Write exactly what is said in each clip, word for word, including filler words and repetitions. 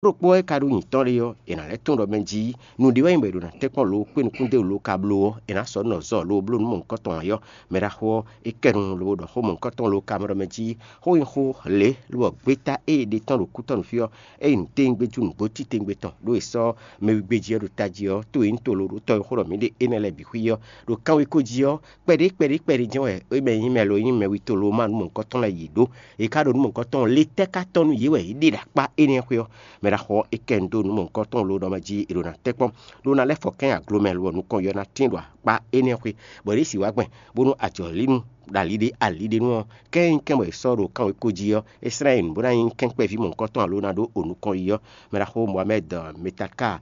Ɖokpó ɔ́ e ka ɖó nyǐtɔ́ ɖé ɔ́, è nǎ lɛ́ tunwun ɖɔ mɛ jí nǔɖé wɛ nyí bɔ è ɖo ná tɛ́nkpɔ́n lo kpé nukúndéwǔ lo ka bló ɔ́, è nǎ sɔ́ nɔ zɔ lo bló nú mɔ̌hunkɔtɔn ǎ ɔ́, mɛ ɖaxó ɔ́, é kɛ nu lobo ɖɔ xó mɔ̌hunkɔtɔn lo ka mɛ ɖɔ mɛ jí xó nyi xó lě lobɔ gbeta e è ɖe tɔ́n ɖo kútɔ́ nú fí ɔ́, é nyí nǔtɛ́ngbéjú nǔgbó titewungbe tɔn ɖó è sɔ́ mɛwígbé jí ɔ́ ɖo tají ɔ́, tó e nyí to lo ɖó tɔ́ e xó ɖɔ mǐ ɖe énɛ́ lɛ́ɛ bǐ xwí ɔ́, ɖo kanwekó jí ɔ́, kpɛɖé kpɛɖé kpɛɖé jɛ́n wɛ é mɛ nyí mɛ lo nyí mɛ wi to lo ma nú mɔ̌hunkɔtɔn lɛ́ɛ yě ɖó. È ka ɖo nú mɔ̌hunkɔtɔn ɔ́, le tɛ́ ka tɔ́ nú yě wɛ yě ɖe ɖo akpá énɛ́ xwé ɔ́? Mɛ ɖaxó ɔ́, é kɛ nu dó nǔ mɔ̌hunkɔtɔn lo ɖɔ mɛ jí è ɖo ná tɛ́nkpɔ́n, ɖó ná lɛ́ fɔ kɛ́n aglomɛ lo ɔ́ nukɔn ɔ́ ná tín ɖo akpá énɛ́ xwé, bɔ yě ɖi si wá gbɛn, bónú ajɔ̌línú ɖo ali ɖé ali ɖé nu ɔ́, kɛ́n nyí kɛ́n bɔ è sɔ́ ɖo kanwekó jí ɔ́, é slɛ́n nyi nǔ bó ná nyí kɛ́nkpɛ́ví mɔ̌hunkɔtɔn alo ná ɖó onukɔn yi ɔ́. Mɛ ɖaxó Mohamed Metaka,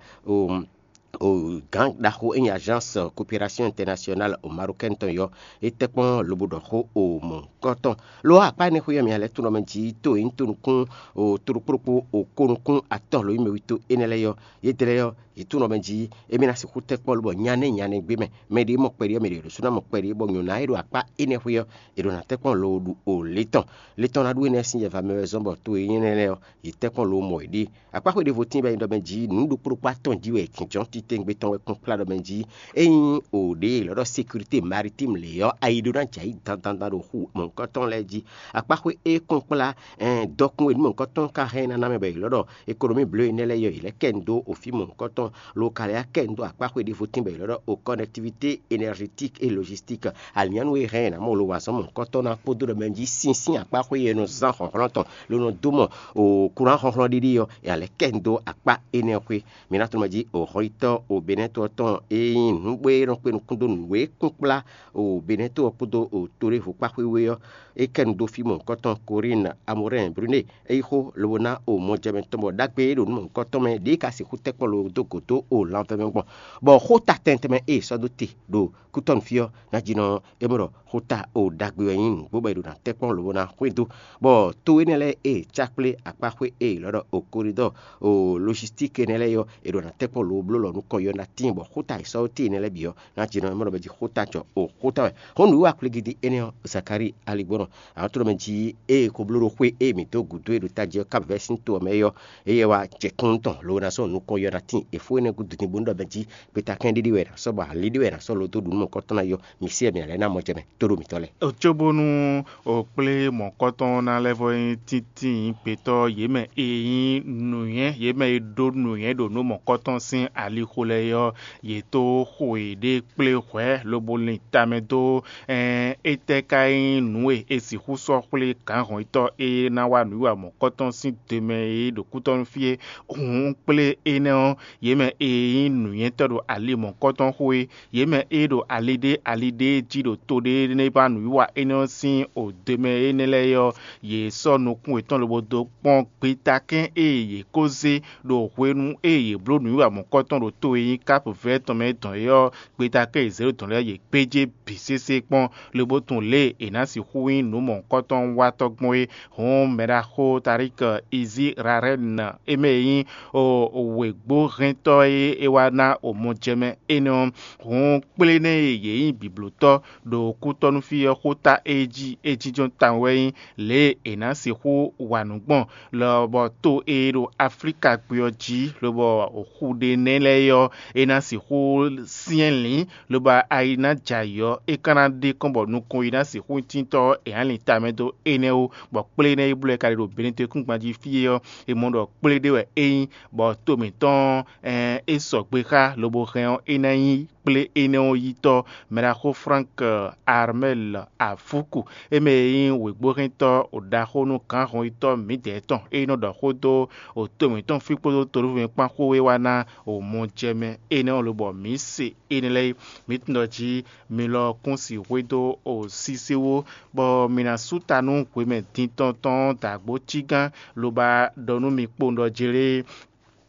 gǎn ɖaxó e nyí Agence Coopération Internationale Marocaine tɔn yɔ, é tɛ́ kpɔ́n lobo ɖɔ xó o mɔ̌hunkɔtɔn. Lo ɔ́, akpá énɛ́ xwé ɔ́, mi lɛ́ tunwun ɖɔ mɛ jí to e nyí tonukún o to ɖokpó ɖokpó o ko nukún atɔ́ lo nyí mɛ wi to énɛ́ lɛ́ɛ ɔ́, yědɛ́ lɛ́ɛ ɔ́, yě tunwun ɖɔ mɛ jí émí ná sixú tɛ́ kpɔ́n lobɔ nyané nyané gbé mɛ, mɛ ɖě mɔ kpɛɖé ɔ́, mɛ ɖě ɖo sú ná mɔ kpɛɖé, bɔ nyɔ̌ná e ɖo akpá énɛ́ xwé ɔ́, è ɖo ná tɛ́ kpɔ́n lo ɖu o le tɔn. Le tɔn ná ɖu énɛ́ sín yɛva mɛ wɛ zɔ́n bɔ to e nyí énɛ́ lɛ́ɛ ɔ́, yě tɛ́ kpɔ́n lo mɔ yě ɖíe. Akpáxwé ɖěvo tíin bɛ nyí ɖɔ mɛ jí nǔ ɖokpó ɖokpó atɔn jí wɛ è kǐnjɔ́n titewungbe tɔn wɛ kpɔ́n kplá ɖɔ mɛ jí ényí o ɖě è lɔ̌ ɖɔ sécurité maritime lě ɔ́, ayi ɖó ná jɛ ayǐ dandan ɖo xu mɔ̌hunkɔtɔn lɛ́ɛ jí. Akpáxwé e kpɔ́n kplá dɔkun e nǔ mɔ̌hunkɔtɔn ka hɛn ná ná mɛ bɔ è lɔ̌ ɖɔ ékonomí bló énɛ́ lɛ́ɛ yɔ yě lɛ́ kɛ nu dó ofí mɔ̌hunkɔtɔn lo ka lɛ́ kɛ nu dó akpáxwé ɖěvo tíin bɔ è lɔ̌ ɖɔ o connectivité énergétique et logistique. Alǐnnyánú e hɛn è nǎ mɔ lo wa azɔ̌ mɔ̌hunkɔtɔn ná kpódó ɖɔ mɛ jí sínsín akpáxwé e nɔ zán hlɔ̌nhlɔ́n tɔn lo nɔ dó mɔ o kuran hlɔ́nhlɔ́n ɖiɖi ɔ́, è nǎ lɛ́ kɛ nu dó akpá énɛ́ ɔ́ xwé. Mi ná tunwun mɛ jí o xɔ́yítɔ́ o Benɛ́to ɔ́ tɔn e nyí nǔgbó e nɔ kpé nukún dó nǔ e kún kplá o Benɛ́to ɔ́ kpódó o to ɖěvo kpá xwé we ɔ́, é kɛ nu dó fí mɔ̌hunkɔtɔn Corinne Amorin Brune. É yí xó lobo ná o mɔjɛmɛ tɔn bɔ ɖagbe e ɖo nú mɔ̌hunkɔtɔn mɛ ɖě ka sixú tɛ́ kpɔ́n lo dó gǒ dó o lanvɛ́ mɛ gbɔn, bɔ xó ta tɛntɛnmɛ e è sɔ́ dó te ɖo kútɔ́ nú fí ɔ́ ná jí nɔ é mɔ ɖɔ xó ta o ɖagbe wɛ nyí nǔgbó bɔ è ɖo ná tɛ́ kpɔ́n lobo ná xwedó, bɔ to énɛ́ lɛ́ɛ e è cá kplé akpá xwé e è lɔ́ ɖɔ o koridɔ́ɔ o logistíki énɛ́ lɛ́ɛ ɔ́, è ɖo ná tɛ́ kpɔ́n lobo bló lɔ nú kɔ yɔ ná tíin, bɔ xó ta e sɔ́ dó te énɛ́ lɛ́ɛ bǐ ɔ́, ná jí nɔ é mɔ ɖɔ mɛ jí xó ta jɔ o xó ta wɛ. Hɔn nǔwiwa kplégídí énɛ́ ɔ́, Zakalíi aligbɔnɔ, àwọn tó ɖɔ mɛ jí ée ko bló ɖo xwé e mǐ dó gǔdo e ɖo tají ɔ́ ká vɛ́ sín to ɔ́ mɛ é ɔ́, éyɛ́ wá jɛ kɔ́n tɔn lobo ná sɔ́ nukɔn yɔ ná tíin è fó énɛ́ gúdo din bónú ɖɔ mɛ jí gbeta kɛ́n ɖé ɖé wɛ è nǎ sɔ́ bɔ alí ɖé wɛ è nǎ sɔ́ lo dó ɖu nú mɔ̌kɔtɔn ná yɔ, mi sí wɛ mǐ ná lɛ́ ná mɔ jɛ mɛ tó ɖo mǐtɔn lɛ́ɛ. Cóbónú o kplé mɔ̌kɔtɔn ná lɛ́ vɔ nyí tíntín gbetɔ́ yě mɛ e nyí nǔnywɛ́, yě mɛ e ɖó nǔnywɛ́ ɖo nǔ mɔ̌kɔtɔn sín alixo lɛ́ɛ ɔ́, yě tó xo yěɖée kplé hwɛ̌ lobo lin tamɛ dó. Ɛɛn, étɛ́ ka nyí nǔ e è sixú sɔ́ xwlé gǎnhɔnyitɔ́ e ná wá nǔwiwa mɔ̌kɔtɔn sín do mɛ é ɖo kútɔ́ nú fí é? Hǔn kplé énɛ́ ɔ́, yě mɛ e nyí nǔnywɛ́tɔ́ ɖo ali mɔ̌kɔtɔn xo é, yě mɛ e ɖo ali ɖé ali ɖé jí ɖo to ɖé nɛ́ ba nǔwiwa énɛ́ ɔ́ sín o do mɛ énɛ́ lɛ́ɛ é ɔ́, yě sɔ́ nukún yětɔn lobo dó kpɔ́n gbetakɛ́n e yě ko zé ɖo hwenu e yě bló nǔwiwa mɔ̌kɔtɔn ɖo to e nyí Kápu Vɛ́ tɔn mɛ é dɔn é ɔ́, gbeta kɛ́n e zěɖo tɔn lɛ́ɛ yě gbéjé bǐ sésé kpɔ́n, lobo tunwun lě e è nǎ sixú nyí nǔ mɔ̌hunkɔtɔn watɔ́ gbɔn é. Hǔn mɛɖaxó Tarik Izirarɛ́n, é mɛ e nyí wěgbóhɛntɔ́ e é wá ná omɔjɛmɛ énɛ́ ɔ́, hǔn kplé nɛ́ e yě nyí bǐblótɔ́ ɖo kútɔ́núfí ɔ́ xó ta é jí é jínjɔ́n tawun wɛ nyí lě e è nǎ sixú wa nǔ gbɔn, lɔbɔ to e ɖo Aflíka gbé ɔ́ jí, lobɔ xu ɖé nɛ́ lɛ́ɛ é ɔ́, é ná sixú syɛ́n lǐn, lobo ayi ná jɛ ayǐ ɔ́, é ka ná ɖe kɔn bɔ nukɔn yi ná sixú nyí tíntɔ́ ɔ́, è nǎ lin tamɛ dó énɛ́ wú, bɔ kplé énɛ́ e bló ɛ ka ɖe ɖo Benɛtɔ́-yíkúngban jí fí é ɔ́, è mɔ ɖɔ kplé ɖé wɛ é nyí, bɔ to mǐtɔn ɔ́, é sɔgbe xá lobo hɛn ɔ́, é ná nyí kplé énɛ́ ɔ́ yítɔ́. Mɛɖaxó Frank Armel Afuku, é mɛ e nyí wěgbóhɛntɔ́ ɖaxó nú gǎnhɔnyitɔ́ mǐdɛɛ tɔn, é nɔ ɖɔ xó dó to mǐtɔn fí kpódó tolúvɛ́nkpán xó e wá ná mɔjɛmɛ énɛ́ ɔ́ lobɔ mǐ se énɛ́ lɛ́ɛ é. Mǐ tunwun ɖɔ jí mi lɔ kún si hwedó o sísí wú, bɔ mi ná sú ta nú hwemɛ din tɔn tɔn dǎgbó cígán, lobo ɖɔ nú mi kpowun ɖɔ jlé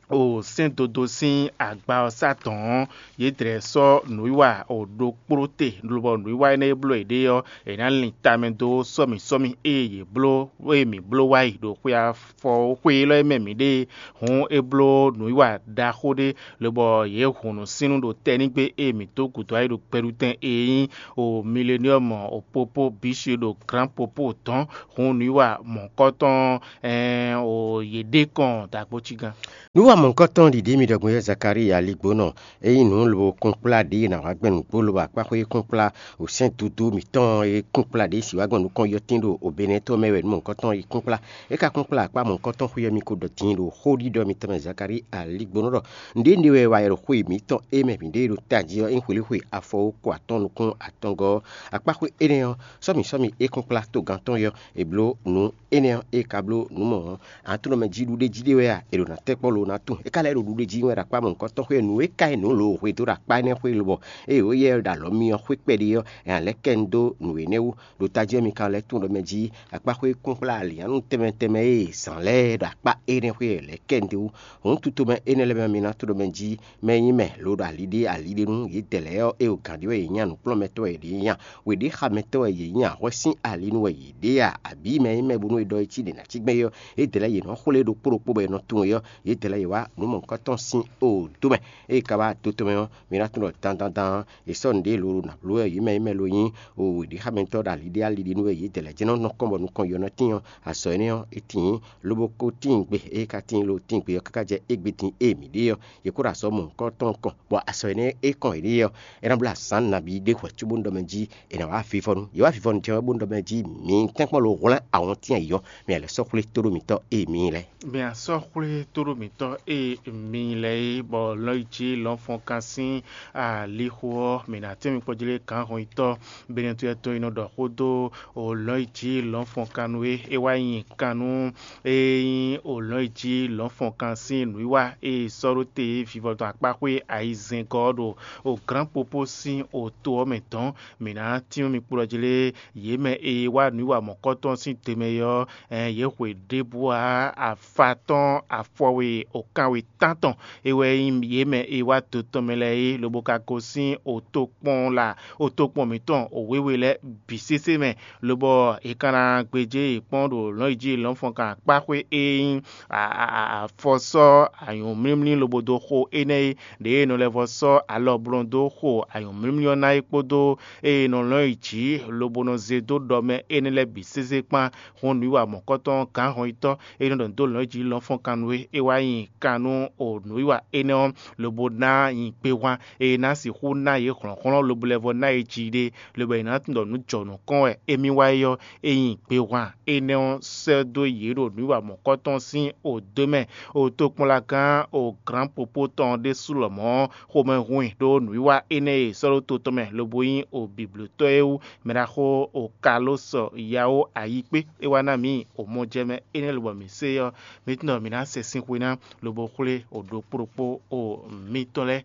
o sɛ́n dodo sín agba ɔ́ sá dɔ̌n ɔ́, yě dlɛ̌ sɔ́ nǔwiwa o ɖokpló te, lobɔ nǔwiwa énɛ́ e bló yěɖée ɔ́, è nǎ lin tamɛ dó sɔ́mi sɔ́mi ée yě bló ée mǐ bló wá yi ɖo xwe afɔ xwe élɔ́ e mɛ mǐ ɖe é. Hǔn é bló nǔwiwa ɖaxó ɖé, lobɔ yě hun nǔsínnú ɖo tɛnígbe ée mǐ dó gǔdo wá yi ɖo gbɛɖutɛn e nyí o mileniɔ́mɔ o popó bǐsi ɖo glǎn popó dɔ̌n. Hǔn nǔwiwa mɔ̌kɔtɔn ɛɛn o yě ɖe kɔn dǎgbócígán. Nǔ wa mɔ̌hunkɔtɔn ɖiɖi mi ɖɔ gbɔn yɔ́ Zakalíi aligbónɔ, é nyí nǔ lobo kúnkplá ɖě e nǎ wá gbɛn nǔgbó lobo akpáxwé kúnkplá, wǒsɛ́n dúdú mǐtɔn e kúnkplá ɖě si wá gbɛn nukɔn yɔtín ɖo obɛnɛtɔ́ mɛ wɛ nǔ mɔ̌hunkɔtɔn e kúnkplá. É ka kúnkplá akpá mɔ̌hunkɔtɔn xwé ɔ́ mi ko ɖɔ din ɖo xóɖiɖɔ mitɔn mɛ Zakalíi aligbónɔ ɖɔ: Nǔɖé ɖe wɛ wa yi ɖo xwe mǐtɔn e mɛ mǐ ɖe ɖo tají ɔ́, é nyí xwelíxwe afɔ ko atɔn nukún atɔngɔ́ ɔ́. Akpáxwé énɛ́ ɔ́, sɔ́mi sɔ́mi é kúnkplá togán tɔn yɔ́, è bló nǔ énɛ́ ɔ́, é ka bló nǔ mɔ̌ ɔ́, atlɔ́mɛ jí ɖuɖéjí ɖé wɛ a? È ɖo ná tɛ́ kpɔ́ lo ná tunwun. É ka lɛ́ ɖo ɖuɖéjí wɛ ɖo akpá mɔ̌hunkɔtɔn xwé nǔ e ka nyí nǔ lǒ hwedó ɖo akpá énɛ́ xwé lobɔ ée wǒ yɛ ɖo alɔ myɔ xwé kpɛɖé ɔ́, è nǎ lɛ́ kɛ nu dó nǔ énɛ́ wú. Ɖo tají ɔ́, mi ka lɛ́ tunwun ɖɔ mɛ jí akpáxwé kúnkplá alǐnnyánú tɛnmɛ tɛnmɛ e zǎn lɛ́ɛ ɖo akpá énɛ́ xwé lɛ́ɛ kɛ nu dó wú. Hǔn tutomɛ énɛ́ lɛ́ɛ mɛ ɔ́, mi ná tunwun ɖɔ mɛ jí mɛ e nyí mɛ lo ɖo ali ɖé ali ɖé nú yědɛɛ lɛ́ɛ ɔ́, é ɖo gǎn ɖé wɛ yě nyí a, nǔkplɔ́nmɛtɔ́ wɛ yě nyí a, wěɖéxamɛtɔ́ wɛ yě nyí a, hwɛ́ sín ali nú wɛ yě ɖe a, abǐ mɛ e nyí mɛ bónú è ɖɔ é cí ɖě ná cí gbɛn é ɔ́, yědɛɛ lɛ́ɛ yě nɔ xwlé ɖokpó ɖokpó bɔ è nɔ tunwun é ɔ́, yědɛɛ lɛ́ɛ yě wá nǔ mɔ̌hunkɔtɔn sín o dó mɛ. Ée ka wá dó tɔn mɛ ɔ́, mi ná tunwun ɖɔ dandandan è sɔ́ nǔɖé lo ɖo nǎ bló wɛ yě mɛ e nyí mɛ lo nyí o wěɖéxamɛtɔ́ ɖo ali ɖé ali ɖé nú wɛ yědɛɛ lɛ́ɛ jɛ́n nɔ nɔ kɔn bɔ nukɔn yɔ nɔ tín ɔ́, azɔ̌ énɛ́ ɔ́, é tíin, lobo ko tíin gbe, ée ka tíin lo tíin gbe ɔ́ káká jɛ égbé din e mǐ ɖe ɔ́, yě kó ɖo azɔ̌ mɔ̌hunkɔtɔn kɔn, bɔ azɔ̌ énɛ́ e kɔn yě ɖe ɔ́, é ná bló azǎn nabí ɖé hwɛ̌ cóbónú ɖɔ mɛ jí è nǎ wá vivɔnu. Yě wá vivɔnu jɛ wɛ bónú ɖɔ mɛ jí mi tɛ́nkpɔ́n lo hwlɛ́n awɔntín ayǐ ɔ́, mi lɛ́ sɔ́ xwlé tóɖó mǐtɔn e mi lɛ́ɛ. Mi a sɔ́ xwlé tóɖó mǐtɔn e mi lɛ́ɛ é, bɔ lɔ̌nyijǐ lɔ̌nfɔnkan sín alixo ɔ́, mǐ ná tɛ́n mi kpɔ́ jlé gǎnhɔnyitɔ́ Benɛtɔ́ tɔn e nɔ ɖɔ xó dó o lɔ̌nyijǐ lɔ̌nfɔnkan nú é. É wá nyi kan nú e nyí o lɔ̌nyijǐ lɔ̌nfɔnkan sín nǔwiwa e è sɔ́ ɖó te vivɔ tɔn akpáxwé ayizɛ́ngɔ́ ɔ́ ɖo o glǎnpopó sín oto ɔ́ mɛ dɔ̌n. Mǐ ná tyɔ́n mi kplɔ́ jlé yě mɛ e wá nǔwiwa mɔ̌kɔtɔn sín te mɛ é ɔ́, ɛn yě hwe ɖěbǔ ǎ, afa tɔn afɔwe okanwe tántɔn é wɛ nyí yě mɛ e wá do tɔn mɛ lɛ́ɛ é, lobo ka gosín otokpɔn la otokpɔn mǐtɔn wěwe lɛ́ɛ bǐ sésé mɛ, lobɔ è ka ná gbéjé yě kpɔ́n ɖo lɔ̌nyijǐ lɔ̌nfɔnkan akpáxwé e nyí afɔsɔ́ anyǔmlímlí lobo dó xo énɛ́ é, ɖěe è nɔ lɛ́ vɔ sɔ́ alɔ blɔ́n dó xo anyǔmlímlí ɔ́ ná é kpódó ée è nɔ lɔ́n yi jǐ lobo nɔ zé dó ɖɔ mɛ énɛ́ lɛ́ɛ bǐ sésé kpán. Hɔn nǔwiwa mɔ̌kɔtɔn gǎnhɔnyitɔ́ e nɔ ɖɔ dó lɔ̌n yi jǐ lɔ́nfɔ́n kan nú é, é wá nyi kan nú o nǔwiwa énɛ́ ɔ́, lobo ná nyi gbehwan e ná sixú ná yě hlɔ̌nhlɔ́n lobo lɛ́ vɔ ná yě jiɖe, lobo è nǎ tunwun ɖɔ nǔ jɔ nǔ kɔn wɛ émí wá é ɔ́, é nyi gbehwan énɛ́ ɔ́ sɛ́ dó yě ɖo nǔwiwa mɔ̌kɔtɔn sín odǒ mɛ. O tokpɔnlagán o glǎnpopó tɔn ɖésú lɔmɔ̌ xomɛ hun i ɖó nǔwiwa énɛ́ e è sɔ́ ɖó to tɔn mɛ lobo nyí o bǐblótɔ́ é wú. Mɛɖaxó o Kalósɔ Yawo Ayikpé é wá ná mǐ o mɔjɛmɛ énɛ́ lobɔ mǐ se ɔ́, mǐ tunwun ɖɔ mǐ ná sɛ sín xwe ná lobo xwlé o ɖokpó ɖokpó o mitɔn lɛ́ɛ.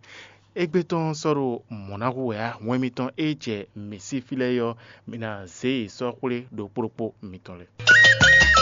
Égbé tɔn sɔ́ ɖo mɔ̌ ná hu wɛ ǎ, hwɛn mitɔn e jɛ mǐ sí fí lɛ́ɛ é ɔ́, mǐ ná zě yě sɔ́ xwlé ɖokpó ɖokpó mitɔn lɛ́ɛ.